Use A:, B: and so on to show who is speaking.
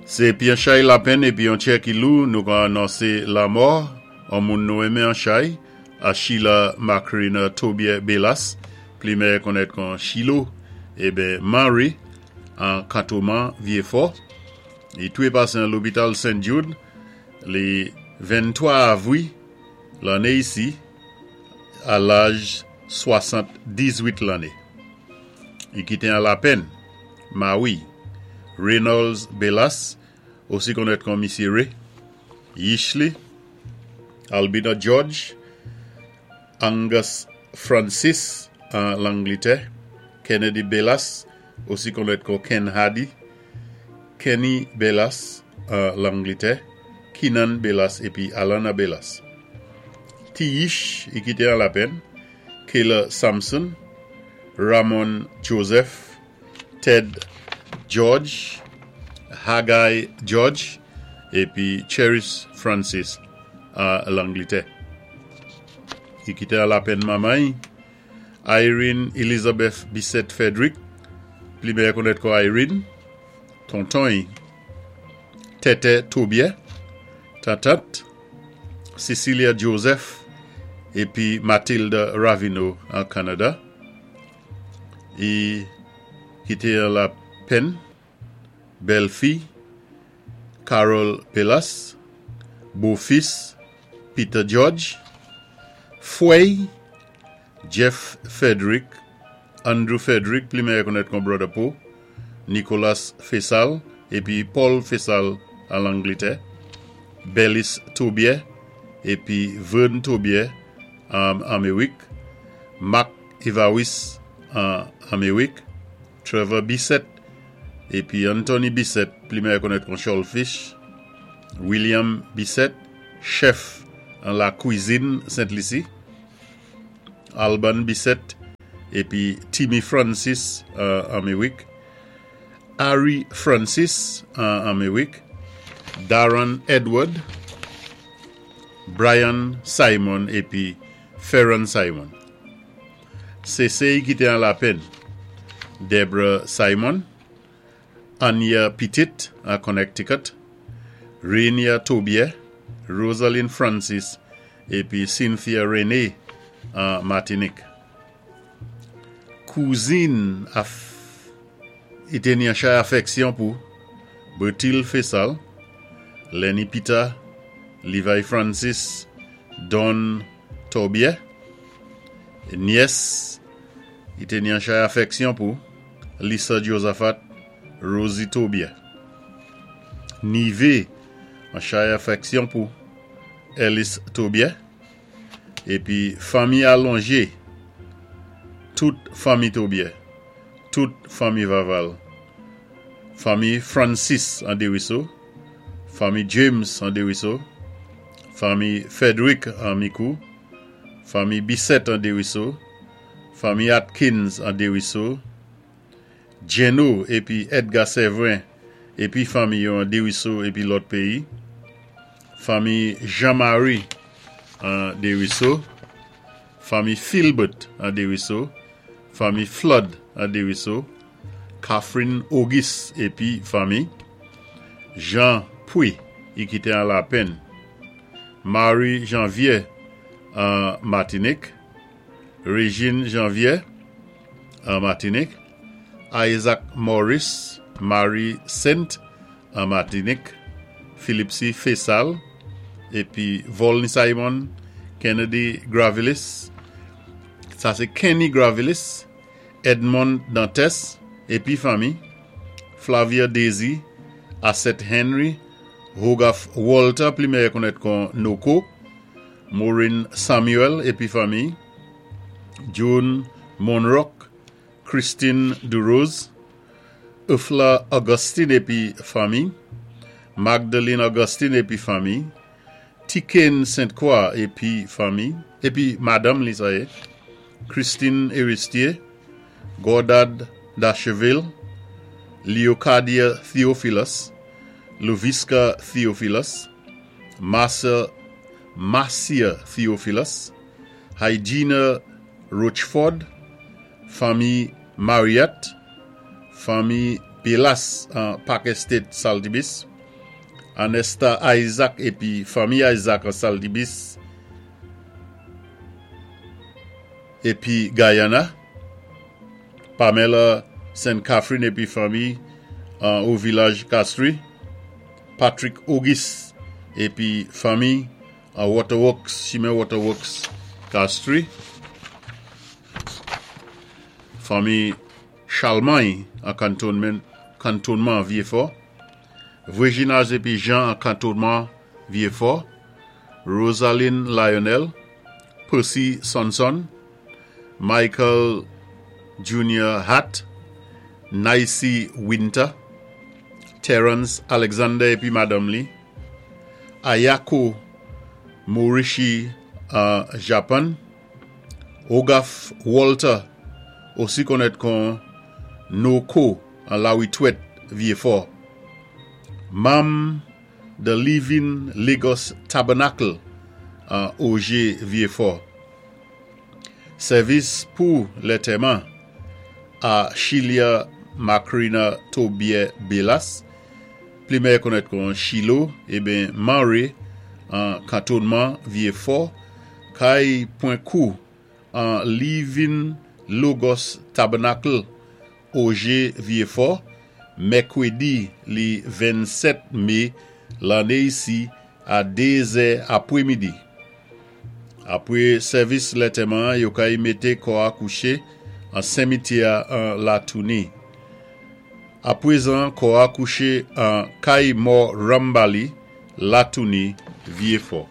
A: Sé épi an chay lapenn épi an tchè ki lou nou ka anonsé lamò an moun nou enmen an chay, a Sheila Macrina Tobier Belas, pli mèyè konnèt kon Chilo, eben Mary, an Kantoman, Vyéfò. Li toué pasé an lopital Saint Jude lé 23 avwi lanné isi a laj 78 lanné. Li kité an lapenn mawi Reynolds Belas, osi konnèt kon Misyé Ray, Yichley, Albina George, Angus Francis an Langlitè, Kennedy Belas, osi konnèt kon Ken Hardy, Kenny Belas an Langlitè, Keenan Belas épi Alana Belas. Ti Yich i kité an lapenn, Kayla Sampson, Ramon Joseph, Ted George, Haggai George épi Cherish Francis an Langlitè. I kité an lapenn manman-y, Irene Elizabeth Bissett Frederick, pli mèyè konnèt kon Irene, tonton-y, Tètè Tobier, tantant, Cecilia Joseph épi Matilda Ravineau an Kanada. I kité an lapenn bèlfi Carol Belas, bofis Peter George, fwèy Jeff Frederick, Andrew Frederick, pli mèyè konnèt kon Brother Po, Nicholas Fessal épi Paul Fessal an Langlitè, Bellis Tobier épi Vern Tobier an Améwik, Mark Evaris an Améwik, Trevor Bissett épi Anthony Bissett, pli mèyè konnèt kon Cholfish, William Bissett, chèf an lakwizin Sent Lisi, Alban Bissett épi Timmy Francis an Améwik, Harry Francis an Améwik, Darren Edward, Brian Simon épi Ferron Simon. Séséy kité an lapenn, Debra Simon, Anya Petit an Connecticut, Rainia Tobier, Rosalind Francis épi Cynthia Rene an Matinik. Kouzin i té ni an chay afèksyon pou Bertil Fessal, Lenny Peter, Levi Francis, Don Tobier, nyès i té ni an chay afèksyon pou Lisa Josaphat, Rosie Tobier. Nivé an chay afèksyon pou Ellis Tobier, épi fanmi alonjé, tout fanmi Tobier, tout fanmi Vaval, fanmi Francis an Desruisseaux, fanmi James an Desruisseaux, fanmi Frederick an Micoud, fanmi Bissett an Desruisseaux, fanmi Atkins an Desruisseaux, Djenno épi Edgar Séverin épi fanmi yo an Desruisseaux épi lòt péyi, fanmi Jean-Marie an Desruisseaux, fanmi Philbert an Desruisseaux, fanmi Flood an Desruisseaux, Catherine Auguste épi fanmi, Jean Pouy i kité an lapenn, Marie Janvier an Matinik, Régine Janvier an Matinik, Isaac Maurice, Marie Saint an Matinik, Philippe C. Fessal épi Volney Simon, Kennedy Gravilis, sa sé Kenny Gravilis, Edmond Dantes épi fanmi, Flavia Daisy, Asset Henry, Hogarth Walter, pli mèyè konnèt kon Noko, Maureen Samuel épi fanmi, June Monrock, Christine Durose, Eufla Augustine épi fanmi, Magdalene Augustine épi fanmi, Tiken Sainte-Croix épi fanmi, épi madanm li sa yé, Christine Eristier, Gordad Darcheville, Leocadia Theophilus, Lovisca Theophilus, Marcia, Marcia Theophilus, Hygiena Rochford, fanmi Marriott, fanmi Belas an Park Estate Saltibus, Anesta Isaac épi fanmi Isaac an Saltibis épi Guyana, Pamela Saint Catherine épi fanmi an Haut Village Castries, Patrick Auguste épi fanmi an Waterworks, chimen Waterworks Castries, fanmi Charlemagne an Cantonment, Kantonman Vieux-Fort, Virginage épi Jean an Kantonman Vieux-Fort, Rosaline Lionel, Percy Sonson, Michael Junior Hatt, Nicey Winter, Terrence Alexander épi madanm li, Ayako Morishi an Japan, Ogaf Walter, osi konnèt kon Noko an Lawitwèt Vyefò, manm The Living Lagos Tabernacle an Ogé Vyefò. Sèvis pou lètèman a Chilia Macrina Tobier Belas, pli mèyè konnèt kon Chilo eben Manre an Kantonman Vyefò, kay Pwen Kou an Living Logos Tabernacle Ogé Vyefò, mèkredi li 27 me lanné isi a 2 zè apwé midi. Apwé sèvis lètèman an yo kay mété kò a kouché an senmityè a an Latouni. Apwézan kò a kouché an kay mò Rambali, Latouni, Vyefò.